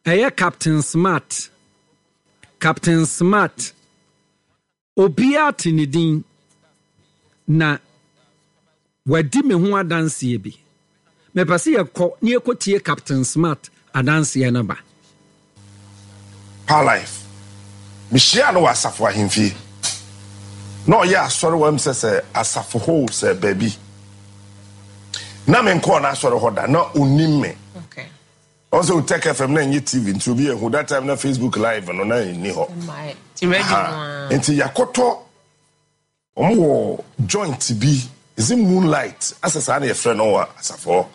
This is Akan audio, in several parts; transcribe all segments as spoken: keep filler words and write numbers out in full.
Ɛyɛ Captain Smart. Captain Smart. Obiara te ne din na wadi me ho adanseɛ bi. Mepɛ sɛ yɛkɔ na yɛkɔtie Captain Smart adanseɛ no ba. Power Life. Mehyiaa no wɔ asafo ahemfie. Na ɔyɛ asɔre wɔ sɛ sɛ asafo hɔ sɛ baabi. Na menkɔɔ n'asɔre hɔ da, na onim me. Okay. Ɔn sɛ Otec F M na ɛnyɛ T V nti obi ehu that time na Facebook Live no na ɛnni hɔ. Ti radio Ha. no a. Nti yɛakɔtɔ wɔn wɔ joint bi, is it Moonlight asɛ saa na yɛfrɛ no wɔ asafo hɔ.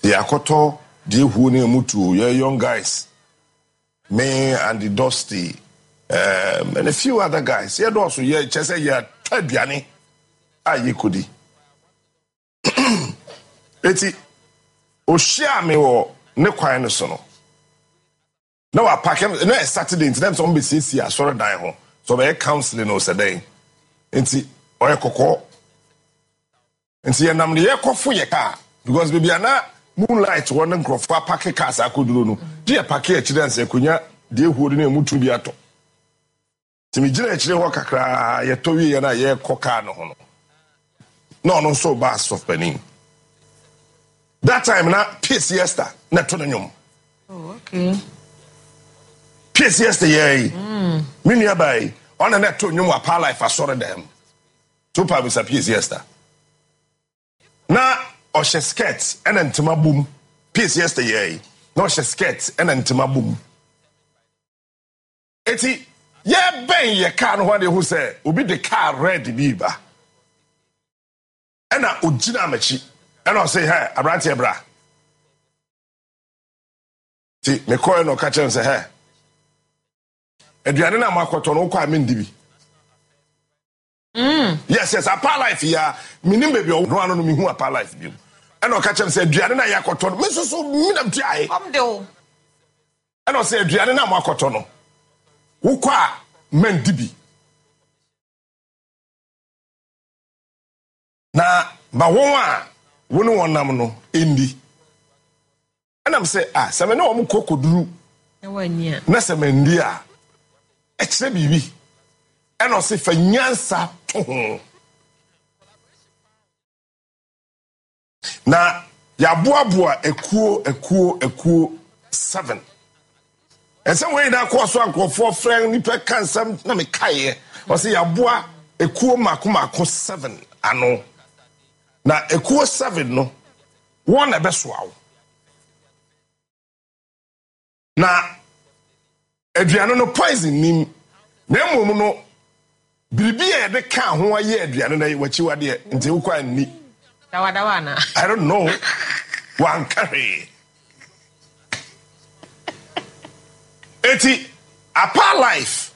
Yɛakɔtɔ deɛ ehuo ne emu tuo, yɛ young guys, me and the Dusty um, and a few other guys, yɛdɔɔso, yɛ kyɛ sɛ yɛatɔ aduane a yɛkɔdi. Eti ohyia me wɔ ne kwan no so no na wapark na ɛ Saturday, nti na sɛ ɔmo bɛsiesie asɔredan ho so ɔbɛyɛ counseling o sɛ dɛn, nti ɔyɛ kɔkɔɔ, nti yɛnam de yɛkɔfo yɛ kaa because baabi a na Moonlight wɔ ne nkurɔfoɔ apark cars akɔduro no gye yɛ park akyire ansa akonnwa deɛ ehuo no ne emu tu bi atɔ. Nti megyina akyire hɔ kakraa, yɛtɔ wie yɛ no a yɛrekɔ kaa no ho no na ɔno nso ba asɔfo panin. That time na P C Esther na ɛto no nnwom. Oh, okay. P C Esther yɛ yi me nua baa yi, ɔna na ɛto nnwom wɔ Power Life asɔre dɛm to pa bisa P C Esther na ɔhyɛ skirt ɛna ntoma bom. P C Esther yɛ yi na ɔhyɛ skirt ɛna ntoma bom. Eti yɛbɛn yɛ kaa no ho ade ho sɛ obi de kaa red bi ba, ɛna ogyina m'akyi ɛna ɔsɛ, "Hɛ, aberanteɛ, bra." Ti mekɔɛ na ɔka kyerɛ me sɛ, "Hɛ, aduane no a moakɔtɔ no, wokɔ a mendi bi." yes yes Apa Life yi a menim baabi a ɔno ano no mehu Apa Life bi mu, ɛna ɔka kyerɛ me sɛ aduane no a yɛakɔtɔ no, me nso so menam tuae. Ɔm de o. Ɛna ɔsɛ aduane no a moakɔtɔ no, wokɔ a mandi bi na ma wɔn a wo ne wɔn nam no ndi. Ɛnam sɛ ah, sɛ me ne wɔn kɔ kɔduru Na wani a. Na sɛ mandi a ɛkyerɛ biribi. Ɛna ɔsɛ fa nyansa to ho na yɛaboaboa akuo akuo akuo seven. Ɛsɛ wɔn nyinaa kɔɔ so a nkurɔfoɔ frɛ nipa ka nsɛm na mekaeɛ. Ɔsɛ yɛaboa ekuo mako mako seven ano, na ekuo seven no wɔn na ɛbɛsoa wo na aduane no poison nim, na mmom no biribi a yɛde ka ho ayɛ aduane no wakyiwadeɛ, nti wokɔ anni. Dawadawa ana? I don't know, wanka hwee. Eti Apa Life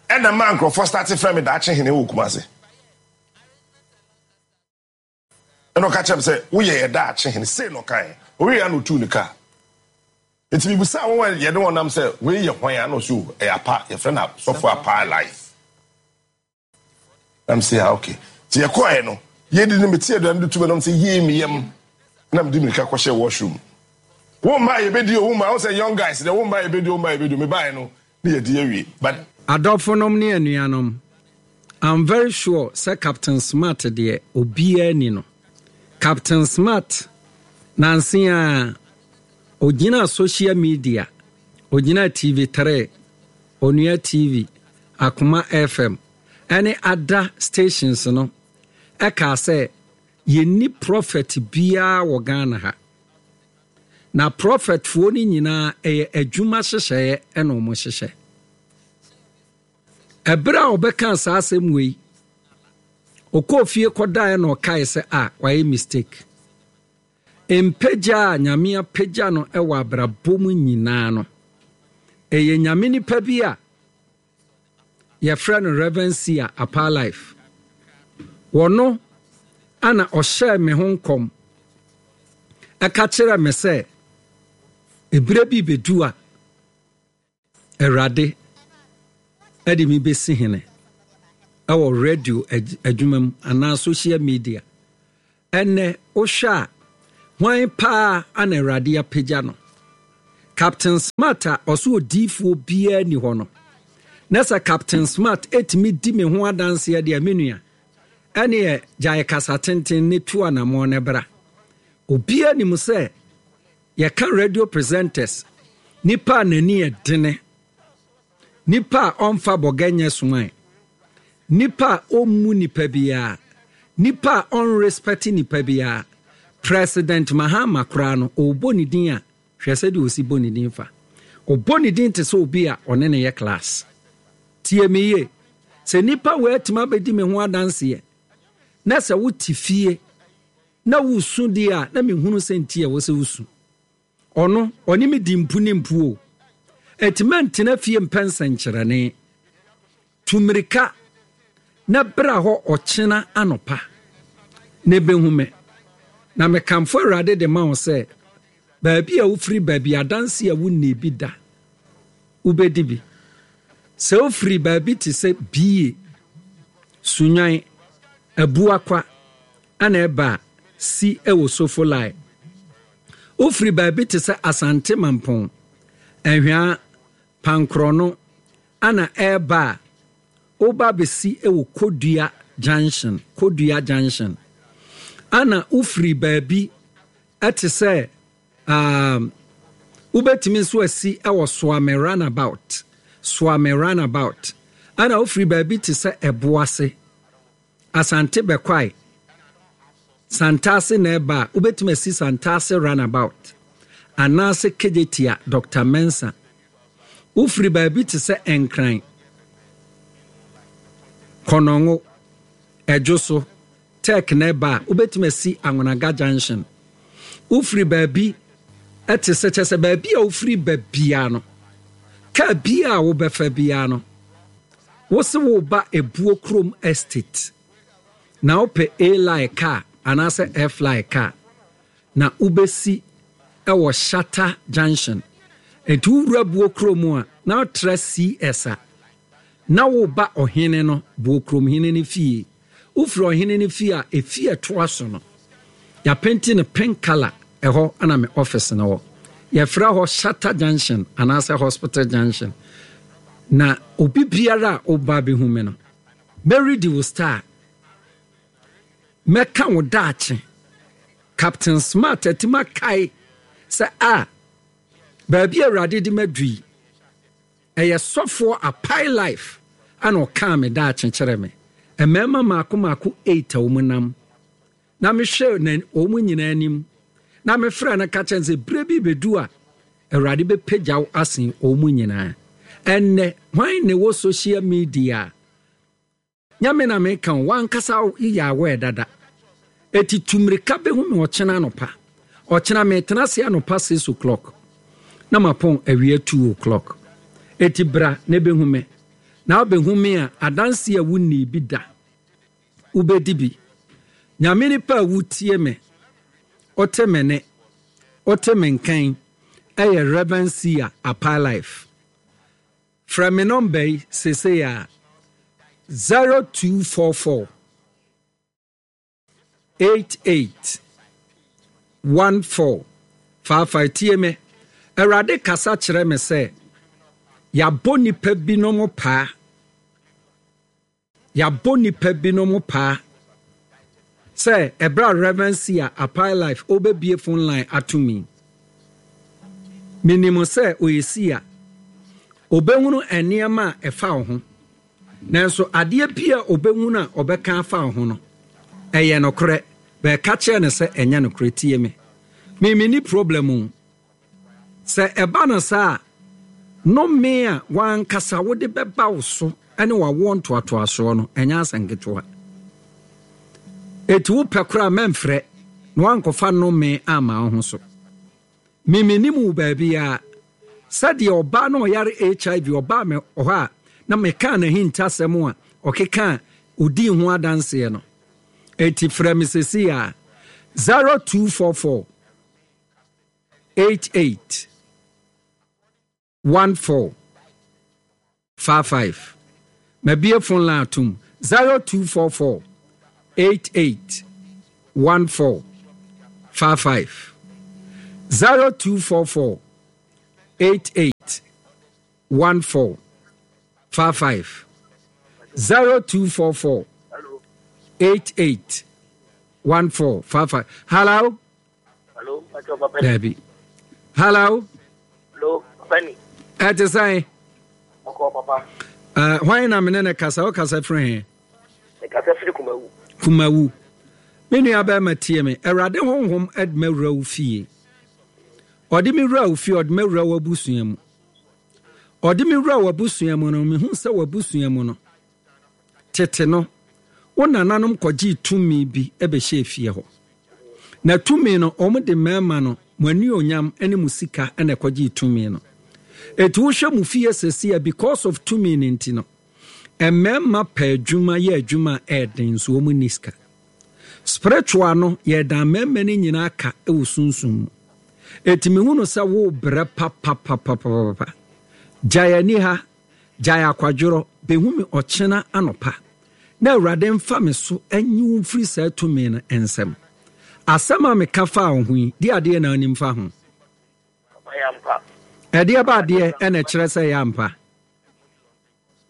ɛna maa nkurɔfoɔ start frɛ me daakye hene wɔ Kumase. Ɛna ɔka kyerɛ me sɛ woyɛ yɛ daakye hene sei na ɔkae owie ya na otuu ne kaa. Nti mibusa wɔn a yɛde wɔn nam sɛ wei yɛ hwan a, na ɔsɛ o, ɛyɛ Apa, yɛfrɛ no sɔfo Apa Life. Nam sɛ ah, okay. Nti yɛkɔɛ no yɛdi no, mete aduane de tu bɛ nam sɛ yie mi yam na mede mirika kɔhyɛ washroom. Wɔn mmaa yɛbɛdi o, wɔn mmaa wɔn sɛ young guys dɛ, wɔn mmaa yɛbɛdi o, wɔn mmaa yɛbɛdi o. Mebaeɛ no ne yɛdi awie but Adɔfonom ne anuanom, I'm very sure sɛ Captain Smart deɛ obiara ni no. Captain Smart nanse a ogyina social media, ogyina T V three, Onua T V, Akoma F M ɛne other stations no ɛkaa sɛ yɛnni prophet biara wɔ Ghana ha, na prophetfoɔ no nyinaa ɛyɛ adwuma hyehyɛeɛ ɛna ɔmo hyehyɛ. Ɛberɛ a ɔbɛka saa asɛm wei, ɔkɔɔ fie kɔdaeɛ na ɔkae sɛ a wayɛ mistake. Mpagya a Nyame apagya no ɛwɔ abrabɔ mu nyinaa no, ɛyɛ Nyame nipa bi a yɛfrɛ no Reverend Sia Apa Life. Wɔno ana ɔhyɛɛ me ho nkɔm ɛka kyerɛ me sɛ ebire bi bɛdu a Awurade ɛde mi bɛsi hene ɛwɔ radio adwuma mu anaa social media. Ɛnɛ wohwɛ a, hwan paa ana Awurade apagya no? Captain Smart a ɔso odiifoɔ biara ni hɔ no, na sɛ Captain Smart ɛtumi di me ho adanseɛ deɛ, me nua, ɛneɛ gyae kasa tenten ne tu anammɔn ne bra. Obiara nim sɛ yɛka radio presenters, nipa a n'ani yɛ dene, nipa a ɔmfa bɔgɛ nyɛ soman, nipa a ɔmmu nipa biara, nipa a ɔnrespect nipa biara. President Mahama koraa no, ɔrebɔ ne din a, hwɛ sɛdeɛ ɔsi bɔ ne din fa. Ɔbɔ ne din te sɛ obi a ɔne ne yɛ class. Tie me yie. Sɛ nipa wei atumi abɛdi me ho adanseɛ, na sɛ wote fie na wosu deɛ a, na mehunu sɛ nti a ɛwɔ sɛ wosu. Ɔno, ɔne me di mpu ne mpu o. Ɛti mɛntena fie mpɛ nsɛnkyerɛnne. Tu mmirika na bra hɔ ɔkyena anɔpa na ɛbɛhu me. Na mekamfo Awurade de ma wo sɛ, baabi a wofiri baabi adanse a wonni bi da, wobɛdi bi. Sɛ wofiri baabi te sɛ Bie, Sunwan, Abuakwa, ana ɛba a, si wɔ Sofolai. Wofiri baabi te sɛ Asante Mampɔn, Ahwea, Pankorɔno, ana ɛreba a, woba abɛsi wɔ Kodua Junction, Kodua Junction. Ana wofiri baabi te sɛ um, wobɛtumi nso asi wɔ Soame Runabout, Soame Runabout. Ana wofiri baabi te sɛ Ɛboase, Asante Bɛkwae, Santase na ɛba a, wobɛtumi asi Santase Runabout anaasɛ Kejetia Doctor Mensah. Wofiri baabi te sɛ Nkran, Kɔnɔngo, Ɛdwo so, Tech na ɛba a, wobɛtumi asi Anwonaga Junction. Wofiri baabi te sɛ, kyɛ sɛ baabi a wofiri ba biara no, kaa biara a wobɛfa biara no, wo se woba Ebuo Kurom Estate na wopɛ A-line kaa anaasɛ F-line kaa na wobɛsi wɔ Shatta Junction. Nti wowura Buo Kurom a na wotra C S a na woba ɔhene no, Buo Kurom hene no fie. Wofiri ɔhene no fie a, efie a ɛtoa so no, yɛapenti no pink colour, ɛhɔ na me office no wɔ. Yɛfrɛ hɔ Shatta Junction anaasɛ Hospital Junction. Na obi biara a woba bɛhu me no, mɛredi wo star, mɛka wo daakye. Captain Smart atumi akae sɛ a baabi a Awurade de madu yi, ɛyɛ sɔfoɔ Apae Life ana ɔkaa me daakye kyerɛ me. Mmarima mmaako mmaako eight a wɔn nam na mehwɛ na wɔn nyinaa anim na mefrɛ no ka kyerɛ no sɛ berɛ bi bɛdu a Awurade bɛpagya wo asen wɔn nyinaa. Ɛnnɛ hwan na ɛwɔ social media a nyame na meka wo wankasa yɛ aware dada. Eti tu mmirika bɛhu me ɔkyena anɔpa. Ɔkyena metena ase anɔpa six o'clock na mapɔn awia two o'clock. Eti bra na bɛhu me. Na wobɛhu me a, adanse a wonni bi da, wobɛdi bi. Nyame nipa a wotie me, wote me ne, wote me nkan, ɛyɛ Reverend Sia Apae Life. Frɛ me nɔmba yi seesei a, zero two four four eight eight one four five five. Tie me. Awurade kasa kyerɛ me sɛ yɛabɔ nipa binom paa, yɛabɔ nipa binom paa sɛ ɛberɛ a Reverend Sia Apae Life ɔbɛbie phone line ato mi, menim sɛ ɔyɛ Sia, ɔbɛhunu nneɛma a ɛfa wo ho, nanso adeɛ bi a ɔbɛhunu a ɔbɛka afa wo ho no, ɛyɛ nokorɛ, bɛɛka kyerɛ no sɛ ɛnyɛ nokorɛ. Tie me, me menni problem o. Sɛ ɛba no saa a, nnome a wankasa wode bɛba wo so ne wawoɔ ntoatoasoɔ no, ɛnyɛ asɛnketewa. Eti wopɛ koraa mɛmfrɛ na wankɔfa nnome ama wo ho so. Me menim wo baabiara. Sɛdeɛ ɔbaa na ɔyare H I V ɔbaa me hɔ a na mekaa n'ahintasɛm a ɔkeka a odii ho adanseɛ no. Eti frɛ me sesi a, zero two four four eight eight one four five five. Mabie phone line atom, zero two four four eight eight one four five five, zero two four four eight eight one four five five zero two four four eight eight one four five five. Hello. Hello. Dabi. Hello. Hello. Papa Ɛte sɛn? Ɔkɔ papa. Uh, hwan na mene ne kasa? Wokasa firi he? Mekasa firi Kumawu. Kumawu. Me nua bɛrima tie me. Awurade honhom de mawura wo fie. Ɔde me wura wo fie, ɔde mawura w'abusua mu. Ɔde me wura w'abusua mu no, mehu sɛ w'abusua mu no, tete no, wo nananom kɔgyee tumi bi bɛhyɛɛ fie hɔ. Na tumi no, wɔn de mmarima no, mo anuonyam ne mo sika na ɛkɔgyee tumi no. Eti wohwɛ mo fie sɛsi a, because of tumi no nti no, mmarima pɛ adwuma yɛ adwuma a ɛɛden nso wɔn nni sika. Spiritual no, yɛdan mmarima no nyinaa ka wɔ sunsum mu. Eti mehu no sɛ wo brɛ papapapapapa. Gyae ani ha, gyae akwadworɔ, bɛhu me ɔkyena anɔpa. Na Awurade mfa me so nyi wo mfiri saa tumi no nsam. Asɛm a meka faa wo ho yi, deɛ adeɛ na wonim fa ho? Ɛyɛ ampa. Ɛdeɛ ba adeɛ ɛna ɛkyerɛ sɛ ɛyɛ ampa?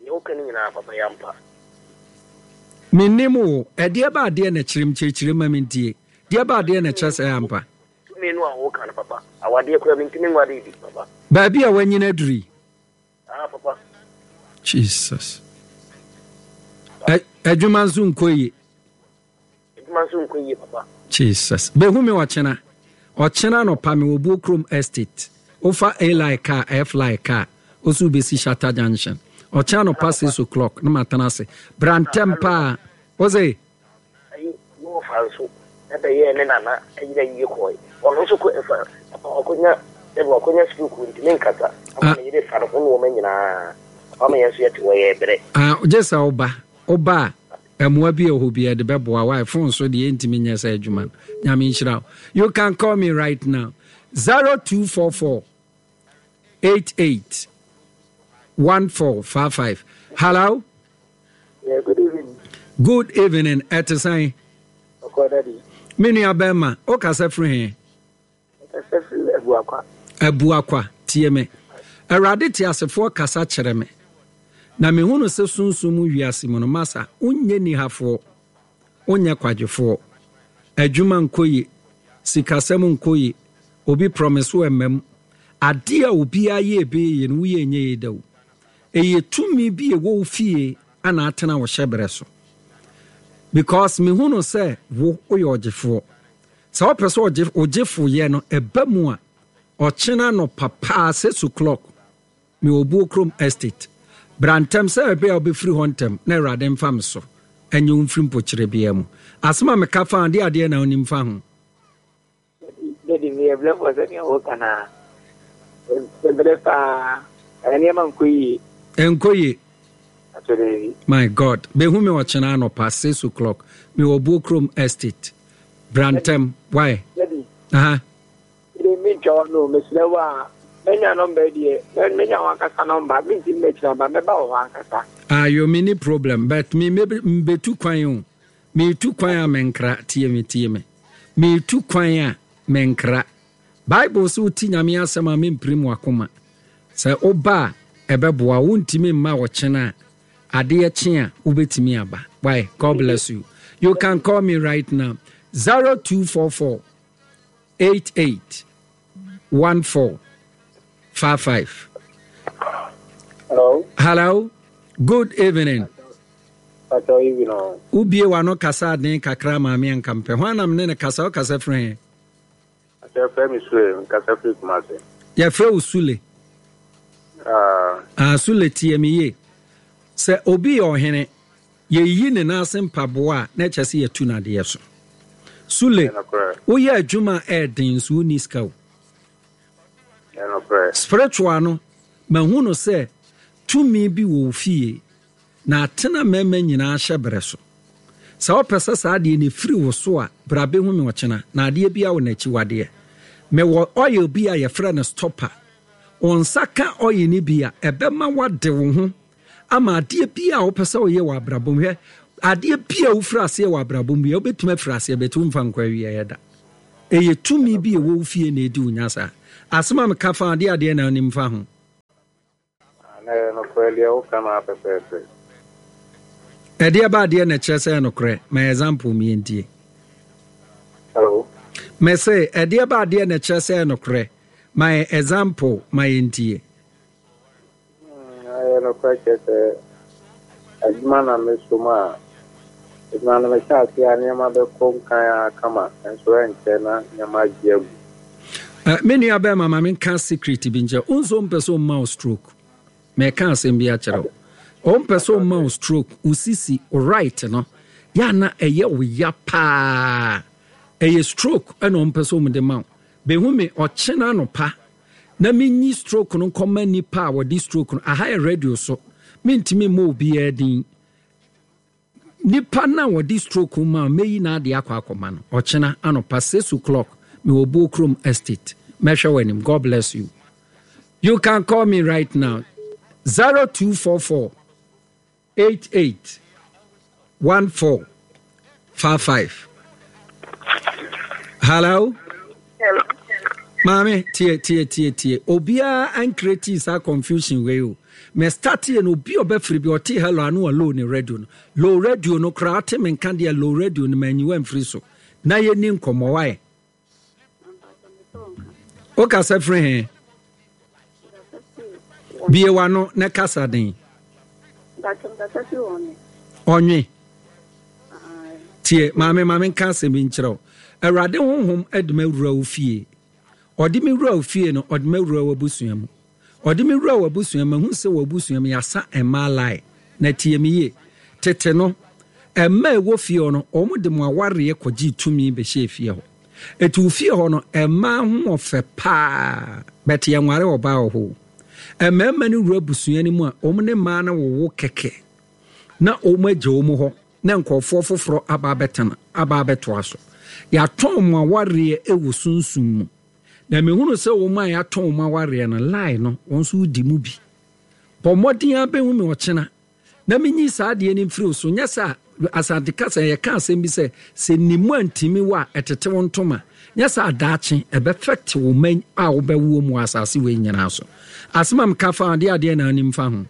Nea woka no nyinaa papa ɛyɛ ampa. Mennim wo. Ɛdeɛ ba adeɛ na ɛkyerɛ m kyerɛkyerɛ ma mentie. Deɛ ba adeɛ na ɛkyerɛ sɛ ɛyɛ ampa? Tumi no a woka no papa, awadeɛ koraa mentumi nware bi papa. Baabi a wanyini aduru yi. Ah papa. Jesus. Adwuma nso nkɔ yie. Adwuma nso nkɔ yie papa. Jesus. Behu me ɔkyena. Ɔkyena nɔpa me wɔ Buokrom Estate. Wofa A line car, F line car. Woso wobɛsi Shatta Junction. Ɔkyena nɔpa six o'clock na matena ase. Bra ntɛm paa. Wose? Ayi, ne wɔfa nso bɛyɛɛ ne nana yere ayie kɔe. Ɔno nso kɔ ɛfa papa wakɔnya ɛbi wakɔnya stroke ntumi nkasa ama ne yere fa ne ho nneɛma nyinaa. Papa ma yɛn nso yɛte hɔ yɛbrɛ. Ah, gye sɛ woba. Woba a, mmoa bi wɔ hɔ bi yɛde bɛboa wo. Phone so deɛ yɛntumi nyɛ sɛ adwuma no. Nyame nhyira wo. You can call me right now. zero two four four eight eight one four five five. Hello. Yeah, good evening. Good evening. Ɛte sɛn? Ɔkɔ daddy. Me nua bɛrima, o kasa firi he? Kasa firi Abuakwa. Abuakwa, tie me. Awurade te asefoɔ kasa kyerɛ me. Na mehunu sɛ sunsum mu wiase mu no, masa, wonyɛ nihafoɔ, wonyɛ kwadwofoɔ. Adwuma nkɔ ye, sikasɛm nkɔ ye, obi promise wo ɛmma mu. Adeɛ a obiara yɛ ɛbɛyɛ yie no, woyɛ ɛnyɛ yie da o. Ɛyɛ tumi bi a ɛwɔ wo fie ana atena wo hyɛberɛ so. Because mehu no sɛ wo woyɛ ɔgyefoɔ. Sɛ wopɛ sɛ ɔgye ogyefoyɛ no ɛba mu a, ɔkyena anɔpa paa six o'clock mewɔ Buokrom Estate. Bra ntɛm sɛ ɛbɛyɛ a wobɛfiri hɔ ntɛm na Awurade mfa me so ɛnyɛ wo mfiri mpokyerɛ biara mu. Asɛm a meka fa ho, deɛ adeɛ na wonim fa ho? Daddy, meyɛ brɛfoɔ sɛdeɛ woka no a. Mebrɛ paa. Nneɛma nkɔ yie. Ɛnkɔ yie. Akyɛ daabi. My God. Bɛhu me ɔkyena anɔpa six o'clock. Mewɔ Buokrom Estate. Bra ntɛm. Why? Daddy. Aha. Mede mentwa wa no, mesrɛ wo a, mɛnya nɔmba yi deɛ, mɛnya wo ankasa nɔmba, mentimi mɛkyerɛ aba, mɛba wɔ hɔ ankasa. Ayo, menni problem, but me mbetu kwan o. Meretu kwan a menkra, tie me, tie me. Meretu kwan a menkra. Bible sɛ wote Nyame asɛm a mempirim w'akoma. Sɛ woba a ɛbɛboa wo, wontumi mma ɔkyena a adeɛ kye a wobɛtumi aba. Why? God bless you. You can call me right now. zero two four four eight eight one four five five. Hello. Hello. Good evening. Wobie w'ano kasa aden kakra maame anka mpɛ. Hwan na mene ne kasa? Wokasa firi he? Yɛfrɛ me Sule, nkasa firi Kumase. Yɛfrɛ wo Sule. Ah. Ah, Sule tie me yie. Sɛ obi yɛ ɔhene, yɛyi ne nan ase mpaboa a, na ɛkyɛ sɛ yɛtu no adeɛ so. Sule, woyɛ adwuma a ɛɛden nso wonni sika o. Spiritual no, mahu no sɛ tumi bi wɔ wo fie na atena mmarima nyinaa hyɛberɛ so. Sɛ wopɛ sɛ saa adeɛ no ɛfiri wo so a, bra bɛhu me ɔkyena, na adeɛ biara wɔ n'akyiwadeɛ. Mewɔ oil bi a yɛfrɛ no stopper. Wo nsa ka oil no bi a, ɛbɛma woade wo ho ama adeɛ biara a wopɛ sɛ woyɛ wɔ abrabɔ mu. Hwɛ, adeɛ biara a wofiri aseɛ wɔ abrabɔ mu biara, wobɛtumi afiri aseɛ but womfa nkɔ awieɛ da. Ɛyɛ tumi bi a ɛwɔ wo fie na ɛdi wo nya saa. Asɛm a meka fa adeɛ adeɛ na wonim fa ho. Na ɛyɛ nokorɛ deɛ woka no ara pɛpɛɛpɛ. Ɛdeɛ ba adeɛ na ɛkyerɛ sɛ ɛyɛ nokorɛ? Ma example mi yɛntie. Hello. Mese ɛdeɛ ba adeɛ na ɛkyerɛ sɛ ɛyɛ nokorɛ? Ma example ma yɛntie. Ɛyɛ nokorɛ kyerɛ sɛ adwuma na meso mu a, adwuma no mehyɛ ase a nneɛma bɛkɔ nkan a kama nso ɛnkyɛ na nneɛma agye agu. Me nua bɛrima, ma menka secret bi nkyerɛ wo. Nso mpɛ sɛ ɔmma wo stroke. Mɛka asɛm bi akyerɛ wo. Ɔmpɛ sɛ ɔmma wo stroke, wo sisi, wo right no, yɛ na ɛyɛ wo ya paa. Ɛyɛ stroke ɛna ɔmpɛ sɛ ɔmde ma wo. Bɛhu me ɔkyena anɔpa na menyi stroke no nkɔma nipa a wɔde stroke no. Aha yɛ radio so, mentumi mmɔ obiara din. Nipa no a wɔde stroke ma mɛyi n'adeɛ akɔ akɔma no ɔkyena anɔpa six o'clock. Mewɔ Buokrom Estate. Mɛhwɛ w'anim. God bless you. You can call me right now, zero two four four eight eight one four five five. Hello. Hello. Maame, tie, tie, tie, tie. Obiara ancreate saa confusion wei o. Me start yɛ no, obi a ɔbɛfiri bi ɔte hello ano a, low ne radio no, low radio no koraa ɔte me nka deɛ, low radio no manyiwa mfiri so na yɛni nkɔmmɔ. Wae, wokasa firi he? Bie w'ano na kasa den. Ɔnwe tie. Maame, maame, nka asɛm bi nkyerɛ wo. Awurade honhom de me awura wo fie. Ɔde me wura wo fie no, ɔde me awura w'abusua mu. Ɔde me wura w'abusua mu, mahu sɛ w'abusua mu yɛasa mmaa line. Na tie me yie, tete no, mmaa ɛwɔ fie hɔ no, wɔn de mo awareɛ kɔgyee tumi bɛhyɛɛ fie hɔ. Ɛti wo fie hɔ no, mmaa ho ɔfɛ paa, bɛte yɛnware ɔbaa wɔ hɔ. Mmarima no wura abusua no mu a, wɔn ne mmaa no wowo kɛkɛ na wɔn agya wɔn hɔ na nkurɔfoɔ foforɔ aba abɛtena, aba abɛtoa so. Yɛatɔn mo awareɛ wɔ sunsum mu, na mehunu sɛ wɔn a yɛatɔn wɔn awareɛ no line no, wɔn nso wodi mu bi. Bɔ mmɔden abɛhu me ɔkyena na menyi saa adeɛ no mfiri wo so. Nyɛ sɛ Asante kasa yɛka asɛm bi sɛ sɛ nimu antimi wɔ a, ɛtete wo ntoma. Nyɛ sɛ adaakye ɛbɛfɛte wo ma a wobɛwoɔ mu wɔ asase wei nyinaa so. Asɛm a meka fa adeɛ adeɛ na anim fa ho.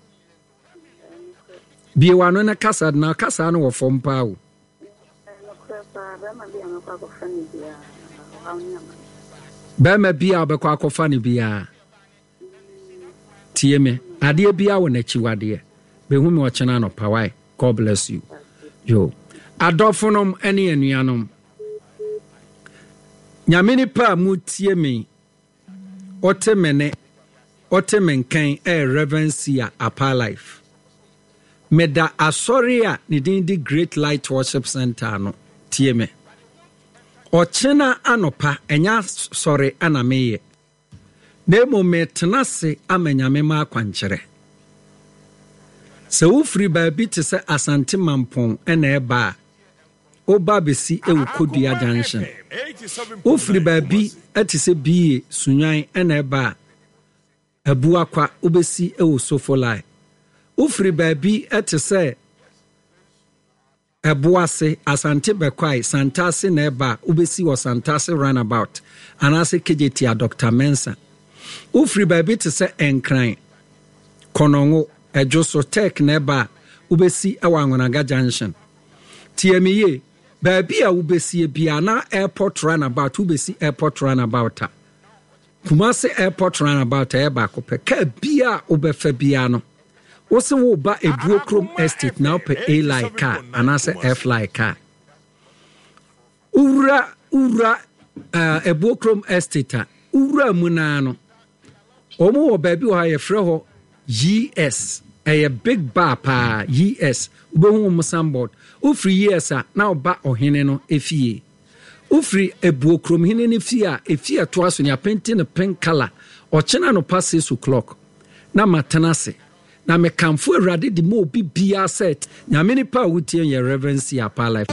Bie w'ano na kasa, na kasa no wɔ fam paa o. Bɛrima bi a wobɛkɔ akɔfa no biara, tie me, adeɛ biara wɔ n'akyiwadeɛ. Bɛhu me ɔkyena anɔpa, wae. God bless you. Yo, adɔfonom ne anuanom, Nyame nipa a mutie me, ɔte me ne ɔte me nkan, ɛyɛ Reverend Sia Apa Life. Meda asɔre a ne din de Great Light Worship Center no. Tie me, ɔkyena anɔpa ɛnyɛ asɔre ana meyɛ, na mmom metena ase ama Nyame ma akwankyerɛ. Sɛ wofiri baabi te sɛ Asante Mampɔn ɛna ɛba a, woba bɛsi ɛwɔ Kodua Junction. Wofiri baabi te sɛ Bie Sunwan ɛna ɛba a, Abuakwa wobɛsi ɛwɔ Sofolai. Wofiri baabi te sɛ Ɛboase, Asante Bɛkwae, Santase na ɛba a, wobɛsi wɔ Santase Runabout anaasɛ Kejetia Doctor Mensah. Wofiri baabi te sɛ Nkran, Kɔnɔngo, Ɛdwoso, Tech na ɛba a, wobɛsi wɔ Anwonaga Junction. Tie me yie, baabi a wobɛsie biara na Airport Runabout, wobɛsi Airport Runabout a, Kumasi Airport Runabout ɛyɛ baako pɛ. Kaa biara a wobɛfa biara no, wo se woba Ebuo Kurom Estate na wopɛ A-Line car anaasɛ F-Line car. Wowura wowura uh, Ebuo Kurom Estate a, wowura mu naa no, wɔn wɔ baabi wɔ ha yɛfrɛ hɔ Y S. Ɛyɛ big bar paa, Y S. Wobɛhu wɔn signboard. Wofiri Y S a, na ɔba ɔhene no efie. Wofiri Ebuo Kuromhene no fie a, efie a ɛtoa so no yɛapenti no pink colour. Ɔkyena anɔpa six o'clock na matena ase. Na mekamfo Awurade de ma obi biara sɛ Nyame nipa a wotie yɛ Reverend C. Apaa Life.